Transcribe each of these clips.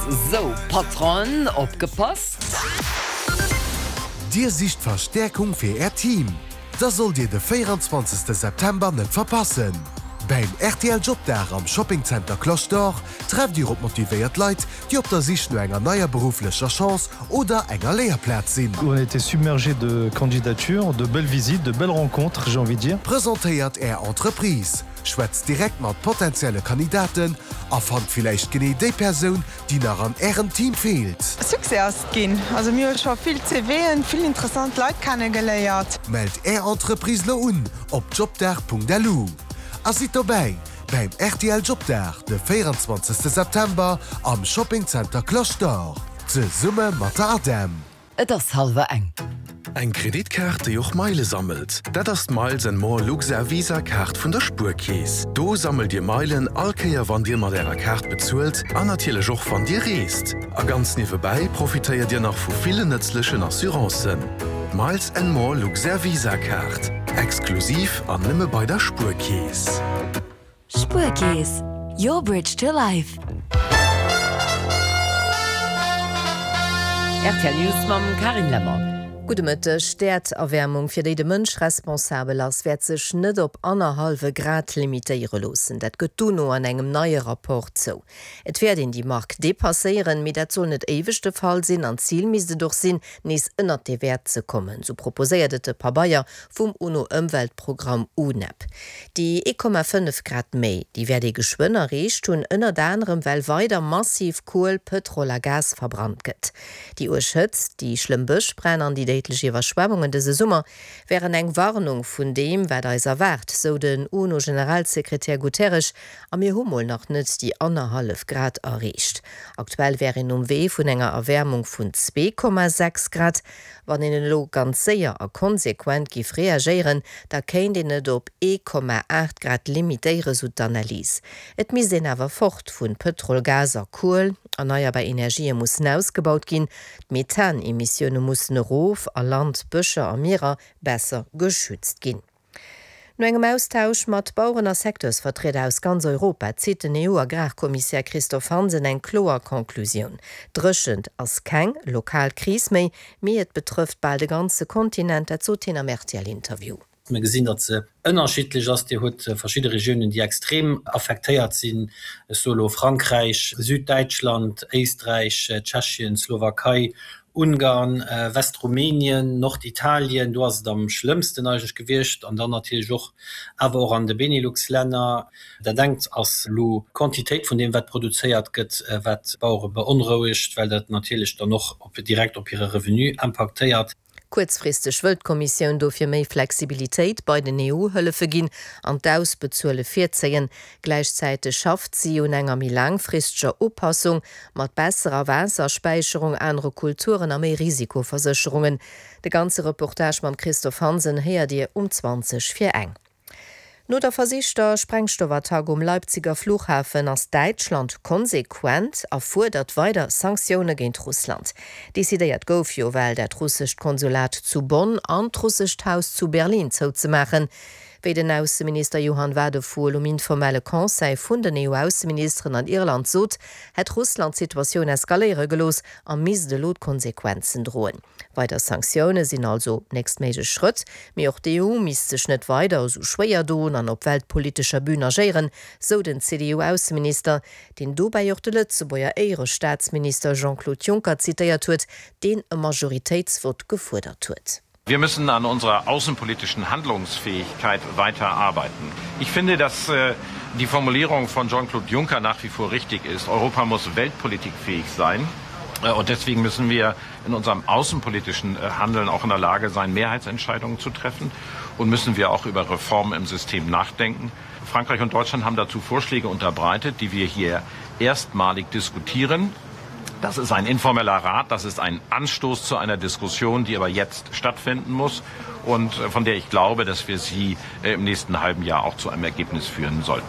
Sou, Patron, opgepasst! Dir sicht Verstäerkung fir Äert Team? Da sollt Dir de 24 September net verpassen! Beim rtl Jobdag am Shopping Center Cloche d'Or trefft Dir op motivéiert Leit, déi op der Sich no enger neier berufflecher Chance oder enger Léierplaz sinn. On a été submergé de candidatures, de belles visites, de belles rencontres, j'ai envie de dire. Presentéiert Är Entreprise, schwätzt direkt mat potentielle Kandidaten a fannt villäicht genee déi Persoun, déi nach an Ärem Team feelt. Succès ass et ginn. Also mir hu scho vill CVen, vill interessant Leit kennegeléiert. Mellt Är Entreprise lo un op jobdag.lu a sidd dobäi beim rtl Jobdag de 24 September am Shopping Center Cloche d'Or zesumme mat der ADEM. Et ass hallwer eng. Eng Kreditkaart, déi och Meile sammelt, dat ass d'Miles and More Luxair Visa Kaart vun der Spuerkeess. Do sammelt Dir Meilen all Kéier wann Dir mat Ärer Kaart bezuelt an natierlech och wann Dir reest. A ganz niewebäi profitéiert Dir nach vu villen nëtzlechen Assurancen. D'Miles and More Luxair Visa Kaart, exklusiv an nëmme bei der Spuerkeess. Spuerkeess, your bridge to life. Rtl News mam Carine Lemmer. Gudde Mëtteg. D'Äerderwäermung, fir déi de Mënsch responsabel ass, wäert sech net op annerhallwe Grad limitéiere loossen. Dat gëtt d'UNO an engem neie Rapport zou. Et wäert een déi Mark depasséieren, mee dat soll net éiweg de Fall sinn an d'Zil misst et och sinn, nees ënnert dee Wäert ze kommen, sou proposéiert et de Pabeier vum UNO-Ëmweltprogramm UNEP. Déi 1,5 Grad méi, déi wäert ee geschwënn erreecht hunn, ënnert anerem well weider massiv Kuel, Pëtrol a Gas verbrannt gëtt. Déi uerg Hëtzt, déi schlëmm Bëschbränn an déi déidlech Iwwerschwemmungen dëse Summer wären eng Warnung vun deem, wat eis erwaart, sou den UNO-Generalsekretär Guterres. A mir hu mol nach net déi annerhallef Grad erreecht. Aktuell wär een um Wee vun enger Erwäermung vun 2,6 Grad. Wann een elo ganz séier a konsequent giff reagéieren, da kéint een et op 1,8 Grad limitéieren, sou d'Analys. Et misst een awer fort vun Pëtrol, Gas a Kuel, erneierbar Energië mussen ausgebaut ginn, d'Methanemissioune mussen erof a Land, Bëscher a Mierer besser geschützt ginn. No engem Austausch mat Baueren a Secteursvertrieder aus ganz Europa zitt den EU-Agrarkommissär Christophe Hansen eng kloer Conclusioun, D'Dréchent ass keng lokal Kris méi, mee et betrëfft bal de ganze Kontinent. Dat sot hien am RTL-Interview. Mir gesinn, datt se ënnerschiddlech ass. Dir hutt verschidde Regiounen, déi extrem affektéiert sinn, ech soe lo Frankräich, Süddäitschland, Éisträich, Tschechien, Slowakei Ungarn, Westrumänien, Norditalien, do ass et am schlëmmsten eigentlech gewiescht, an dann natierlech och awer och an de Benelux-Länner. Dat engt ass elo d'Quantitéit vun deem wat produzéiert gëtt, wat d'Bauere beonrouegt, well dat natierlech dann och direkt op hire Revenu impaktéiert. Kuerzfristeg wëll d'Kommissioun dofir méi Flexibilitéit bei den EU-Hëllefe ginn an d'Ausbezuele virzéien. Gläichzäiteg schafft si un enger méi laangfristeger Upassung, mat besserer Waasserspäicherung, anere Kulturen a méi Risikoversécherungen. De ganze Reportage mam Christophe Hansen héiert Dir um 20 vir eng. No der versichter Sprengstoffattack um Leipziger Flughafen ass Däitschland konsequent a fuerdert weider Sanktioune géint Russland. Decidéiert gouf jo well dat russescht Konsulat zu Bonn an d'russescht Haus zu Berlin zouzemaachen. Wéi den Ausseminister Johann Wadephul um informelle Conseil vun den EU-Ausseministeren an Irland sot, hätt Russland d'Situatioun eskaléiere gelooss a misst elo d'Konsequenzen droen. Weider Sanktioune sinn also nächstméiglech Schrëtt, mee och d'EU misst sech net weider esou schwéier doen an op weltpolitescher Bün agéieren, sou den CDU-Ausseminister, deen dobäi och de Lëtzebuerger Éierestaatsminister Jean-Claude Juncker zitéiert huet, deen e Majoritéitsvott gefuerdert huet. Wir müssen an unserer außenpolitischen Handlungsfähigkeit weiter arbeiten. Ich finde, dass die Formulierung von Jean-Claude Juncker nach wie vor richtig ist. Europa muss weltpolitikfähig sein. Und deswegen müssen wir in unserem außenpolitischen Handeln auch in der Lage sein, Mehrheitsentscheidungen zu treffen und müssen wir auch über Reformen im System nachdenken. Frankreich und Deutschland haben dazu Vorschläge unterbreitet, die wir hier erstmalig diskutieren. Das ist ein informeller Rat, das ist ein Anstoß zu einer Diskussion, die aber jetzt stattfinden muss und von der ich glaube, dass wir sie im nächsten halben Jahr auch zu einem Ergebnis führen sollten.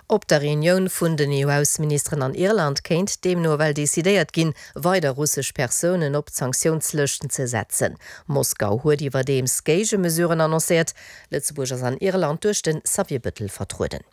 Op der Reunioun vun den EU-Ausseministeren an Irland kéint deemno ewell decidéiert ginn, weider russesch Persounen op d'Sanktiounslëschten ze setzen. Moskau huet iwwerdeems Géigemesuren annoncéiert. Lëtzebuerg ass an Irland duerch de Xavier Bëttel vertrueden.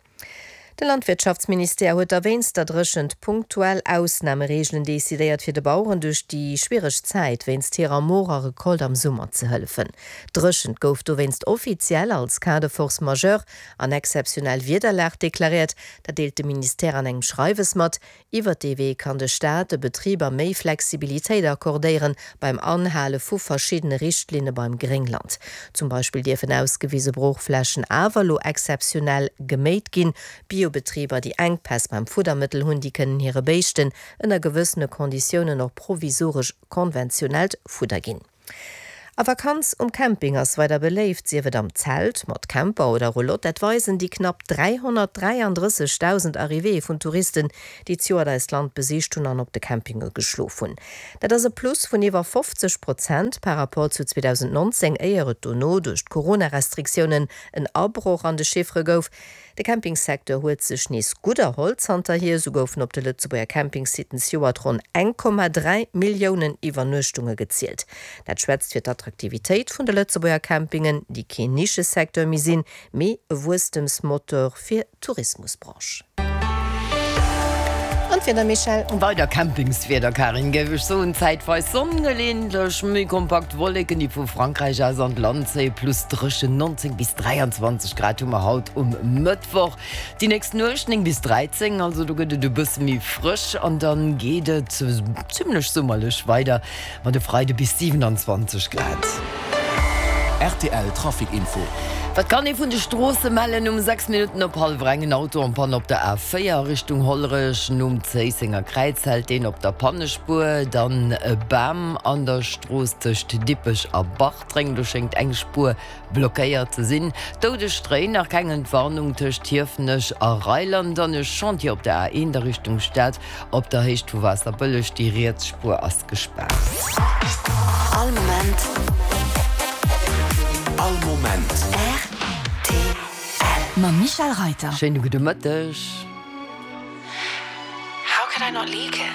De Landwirtschaftsministère huet da wéinst der Dréchent punktuell Ausnamereegelen decidéiert, fir de Baueren duerch déi schwiereg Zäit wéinst hirer morer Recolte am Summer ze hëllefen. D'Dréchent gouf dowéinst offiziell als Cas de force majeure an exzeptionell Wiederlag deklaréiert. Dat deelt de Ministère an engem Schreiwes mat. Iwwert dee Wee kann de Staat de Betriber méi Flexibilitéit accordéieren beim Anhale vu verschiddene Richtlinne beim Gréngland. Zum Beispill dierfen ausgewise Broochflächen awer elo exzeptionell geméit ginn. Biobetriber, déi Enkpäss beim Fuddermëttel hunn, déi kënnen hire Béischten ënner gewëssene Konditiounen och provisoresch konventionellt Fudder ginn. A Vakanz um Camping ass weider beléift, sief et am Zelt, mat Camper oder Roulotte. Dat weisen déi knapp 333.000 Arrivéeë vun Touristen, déi d'Joert eist Land besicht hunn an op de Campinge geschlof hunn. Dat ass e Plus vun iwwer 50 Prozent par Rapport zu 2019, éier et dono duerch d'Corona-Restriktiounen en Abroch an de Chiffere gouf. De Campingsecteur huet sech nees gutt erholl zanterhier. Esou goufen op de Lëtzebuerger Campingsitten zejoert ronn 1,3 Milliounen Iwwernuechtunge gezielt. Dat schwätzt fir d'Attraktivitéit vun de Lëtzebuerger Campingen, déi keen Nischesecteur méi sinn, mee e Wuesstemsmotor fir d'Tourismusbranche. An d'Wieder, Michèle? Weider Campingswieder, Karin, géif ech soen. Zäitweis Sonn, geleeëntlech méi kompakt Wolleken, déi vu Frankräich aus an d'Land zéien, plus dréchen 19 bis 23 Grad hu mer haut um Mëttwoch. Déi nächst Nuecht 9 bis 13, also do gëtt et e bësse méi frësch an dann geet et zimmlech summerlech weider mat e Freide bis 27 Grad. Rtl Trafic Info. Wat kann ee vun de Stroosse mellen? Um 6 Minutten op hallwer eng en Auto en Panne op der A4 a Richtung Hollerech nom Zéissenger Kräiz hält deen op der Pannespuer. Dann e Bam an der Strooss tëscht Dippech a Bartreng, do schéngt eng Spuer blockéiert ze sinn. Doudeg Stréi, nach keng Entwarnung tëscht Hiefenech a Reiland an e Chantier op der A1 a Richtung Stad op der Héicht vu Waasserbëlleg. Déi riets Spuer ass gespaart. All Moment. All Moment. Rtl. Mam Michèle Reyter. Schéine gudde Mëtteg. How could I not leak it?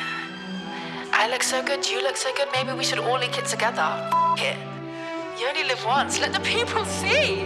I look so good, you look so good, maybe we should all leak it together. F it. You only live once, let the people see!